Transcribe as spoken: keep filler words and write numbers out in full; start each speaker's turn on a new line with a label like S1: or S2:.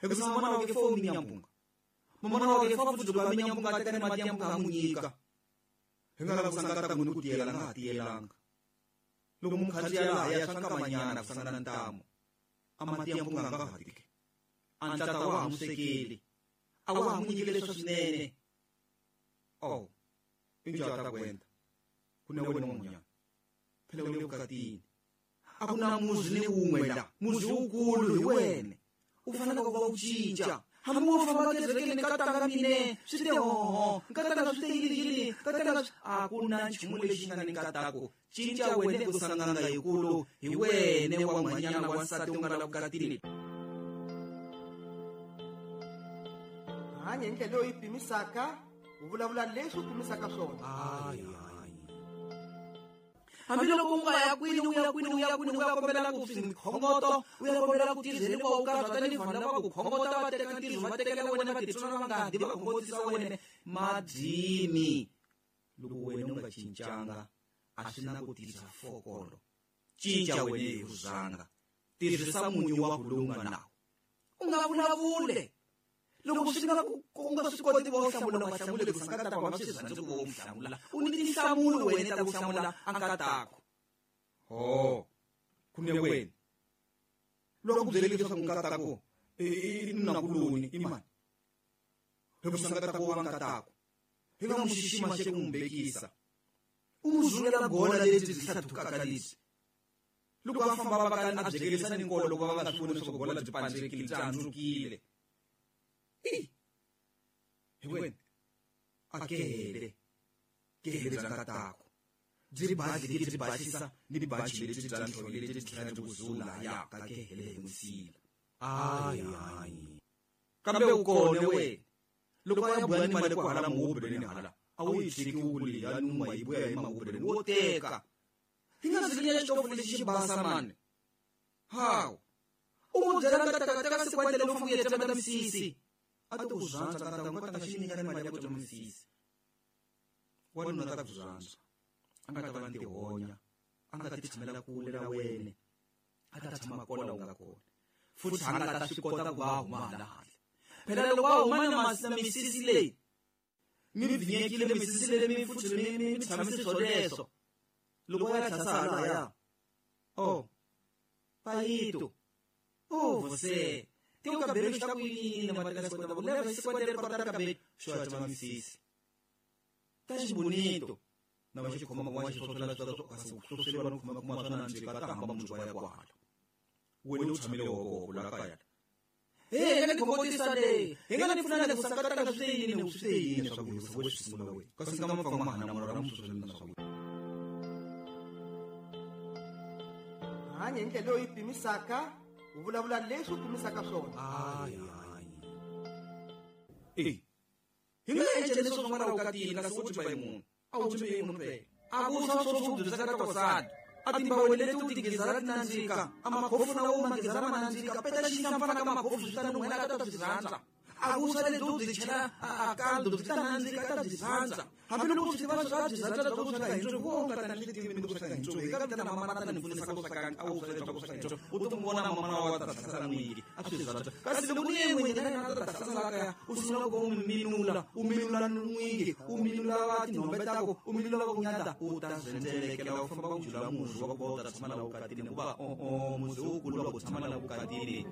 S1: Hikusa mamana wa ke fo mi nyampunga. Mamana wa ke fa futhi loko a mi nyampunga a teka ni mati ya mpunga a n'wi nyika. Hi nga lava ku sanga nkataku ni ku tiyela nga ha tiyelanga. Loko mu khandziya laha ya swa nkamanyana ku sangana ntamu. A mati ya mpunga nga ha tiki. A ntlata wa ha n'wi swekeli. A wa ha n'wi nyikile leswa swinene. Oh, i njhani ta ku endla? Ku na wena n'wan'wanyana. Phela u le vukatini. A ku na muzi ni wun'we la. Muzi wukulu hi wena. U fanele ku va u cinca. Hambi wo famba kerekeni nkatanga mine swi te hoho nkatanga swi te yini yini nkatanga a ku na nchumu lexi nga ni nkatako. Cinca wena ku sanganga yikulu hi wena wa n'wanyana wa nsati u nga la vukatini.
S2: Hanya hi ndlela leyi pimisaka u vulavula leswi u pimisaka swona.
S1: Hambi loko u nga ya kwini u ya kwini u ya kwini u ya kombela ku swikhongoto u ya kombela ku tirheriwa u karhata ni vanhu lava ku khongota va teka ntirho va tekela wena va titsona va nga di va khongotisa wena madini. Loko wena u nga cincanga a swi na ku tirhisa fokolo. Cinca wena hi vuzanga. Tirhisa munyu wa ku lowu nga nawo. U nga vulavule. Loko swi nga ku nga swi koti ku hlamula u hlamule ku sanga ta ku swi rhandza ku u hlamula. U ni tinhlamulo wena ta ku hlamula a nkatako. Ho, ku ne wena. Loko ku byele leswaku nkatako i nuna kuloni i mani. Hi ku sanga ta ku wa nkatako. Hi nga n'wi xixima xe ku n'wi bekisa. U n'wi zungela gola lebyi byi hlathukaka lebyi. Loko a famba va kala a byekelisa ni nkolo loko va nga swi voni leswaku gola byi pandzekile byi handzukile. Hi wena a kele kele bya nkatako byi badlile byi basisa ni bachi lebyi bya ntlhontlho lebyi tlhela byi ku zula ya ka kele hi musila. Ayi ayi kambe u kone wena loko a ya buya ni mali ku hala muhubeleni hala a wu yi tshiki wu leyi ya numa yi buya hi mahubeleni wo teka. Hi nga zinya xitofu lexi xi basa mani. Hawu u n'wi byela nkataka teka sikwendele loko u ya tsemeta misisi. A ti ku rhandza nkataka nkataka xi nyika ni mali ya ku tsema misisi. Wanuna ta ku rhandza. A nga ta va ni tihonya. A nga ta ti tshamela kule na wena. A ta tshama kona u nga kona. Futhi a nga ta swi kota ku va huma hala handle. Phela loko va huma na na misisi leyi mi bvinyekile misisi leyi mi futhi mi mi tshamise swoleswo. Loko va ya tlhasa halaya. Oh, payito. Oh, você. Tem o cabelo está com ele, mas tá com o leva esse quadro para o cabelo. Show a chama misisi. Tá bonito. Na mas como uma coisa só ela só só se não como como só na nje ka hamba munhu wa ya kwala. Wena u tshamile hoko la kaya. Eh, nga ni khongotisa le. Hi nga ni pfuna le ku sakataka swi yini ni swi yini swa ku swi sungula wena. Kasi nga mapfa mahana mara ra mususu na swa.
S2: Hanya hi ndlela leyi pimisaka u vulavula leswi u pimisaka swona.
S1: Ayi ayi. Eh. Hi nga endla leswi swin'wana vukatini kasi u tshemba hi munhu. A wu tshembi hi munhu phela. A ku swa swo swo byi saka ta kwasana. A timbawu leti u tigizara ti nandzika. A makhofu na wo magizara ma nandzika. Peta xinhlampfana ka makhofu swi ta nun'hwela ka ta byi rhandza. A ku swa lebyi u byi chela a kaldo byi ta nandzika ta byi rhandza. Hambi loko swi tiva swa byi rhandza bya ku sweka hi ntswo wo nga ta ni tivi ni ku sweka hi ntswo. Hi ka vitana mama ta ni pfunisa ku sweka a wu sweka ku sweka hi ntswo. U ti vona mama wa ta tlhasela n'wingi a swi rhandza. Kasi loko ni n'wingi na yena ta tlhasela kaya u sungula ku minula u minula n'wingi u minula va tinhombe tako u minula va ku nyata u ta zendzelekela u famba u jula muzi wa ku va u ta tshama la vukatini hikuva o o muzi wukulu wa ku tshama la vukatini.